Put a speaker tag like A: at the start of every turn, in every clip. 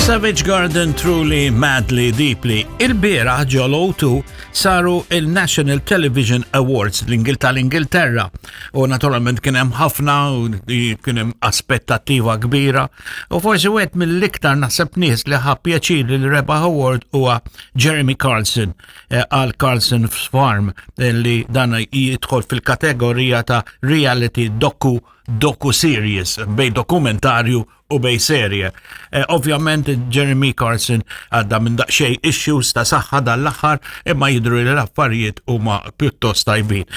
A: Savage Garden Truly Madly Deeply. Il-bieraħ ġol O2 saru il-National Television Awards l-Ingil tal-Ingilterra u naturalment kien hemm ħafna u kien hemm aspettattiva kbira u forsi wieħed mill-iktar naħseb nies li ħa pjaċir li rebaħ award huwa Jeremy Carlson eh, għal Carlson Farm eh, li dan jidħol fil-kategorija ta' reality doku doku series bej dokumentarju u bej serje. Eh, ovvjament Jeremy Carson għadda minn daqsxejn issues ta' saħħa dan l-aħħar imma jidru li l-affarijiet huma pjuttost tajbin.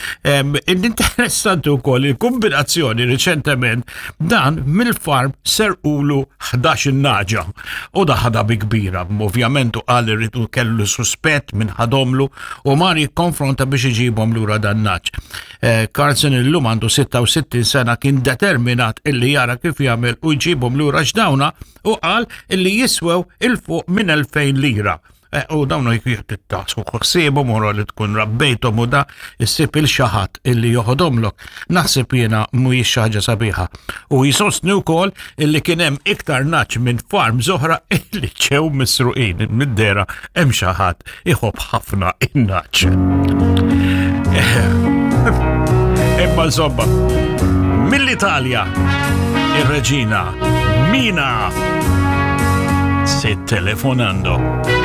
A: Interessanti wkoll il-kombinazzjoni riċentement dan mill-farm serqulu 11 nagħġa u da ħadha bi kbira. Ovvjament u qal irridu kellu suspett minn ħadomlu u mar jikkonfronta biex iġibhom lura dan nagħaġ. Eh, Carlson illum għandu 66 sena kien determinat illi jara kif jagħmel u jġibhom lura x'dawna u qal illi jiswew 'il fuq minn 2000 lira. Eh, u dawn jtittasu ħsiebhom u li tkun rabbejthom u da issib il xi ħadd illi joħodhomlok. Naħseb jiena mhuwiex xi ħaġa sabiħa. U jisostni wkoll illi kien hemm iktar nagħaġ minn farm oħra illi ġew misruqin mid-dehra hemm xi ħadd iħobb ħafna in-nagħaġ. Imma insomma, mill-Italja, ir-reġina Mina se telefonando.